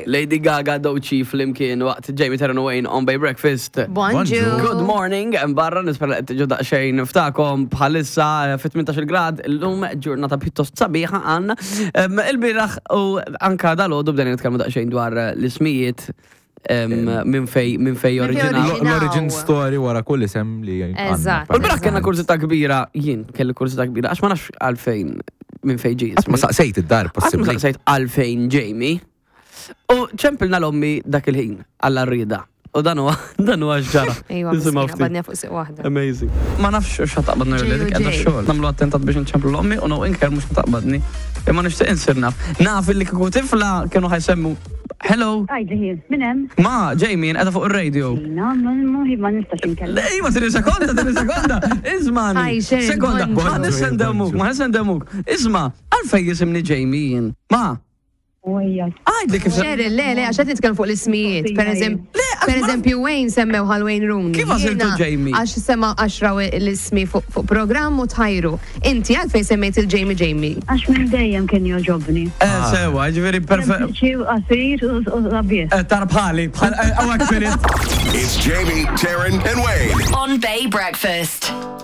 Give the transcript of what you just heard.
Lady Gaga Doci flimkien waqt Jamie Terran Wayne on Bay Breakfast. Bonġu. Good morning, hemm barra nispera qed tiġu daqsxejn ftakom bħalissa eh, fi 18 grad illum ġurnata pjuttost sabiħa għandna. Em, Il-bieraħ u anka dal-għodu bdejna nitkellmu daqsxejn dwar eh, l-ismijiet em, minn fej minn fej Minn fej oriġinaw. oriġinaw. L-origin story wara kull isem li għandna. Eżatt. U l-bieraħ kellna kursita kbira, jien kelli kursita kbira, għax ma nafx għalfejn minn fej ġie Qatt ma ismi. saqsejt id-dar Qatt ma possibbli. saqsejt għalfejn Jamie. U ċempilna l-ommi dak il-ħin għall rida. U dan huwa dan huwa x'ġara. Ejwa, Nisimgħu miskina, ftit. badnija fuq siq waħda. Amazing. Ma nafx xa taqbadni J u dik qiegħda U J. xogħol. Nagħmlu attentat biex nċemplu l-ommi u no inker mhux taqbadni. Imma nixtieq insir naf. Naf illi kieku tifla kienu ħajsemmu Hello, Għajdi ħin, minn hemm? ma Jamie qiegħda fuq ir-radio. Na, ma ma nistax inkellem. Lej, ma tini sekonda, tini sekonda. Ismani. Hi, Sharon, Sekonda, bonġu. ma nissendemuk, ma nissendemuk. Isma, għalfej jisimni Jamie jien. Ma, Ujja. għajdli kif se. Cheryl, le, le, għax qed nitkellem fuq l-ismijiet. Per eżempju, Le, għax per ma- eżempju, Wayne semmew għal Wayne Rooney. Kif għażiltu Jiena Jamie? Għax sema għax raw l-ismi fuq fuq programm u tħajru. Inti għalfejn semmejt il-Jamie Jamie. Għax minn dejjem kien joġobni. Eh, sewa, ġifieri perfett. Sempliċi u qasir u u sabiħ. Eh, Tar bħali, bħal, għawak finit. It's Jamie, Taryn, and Wayne. On Bay Breakfast.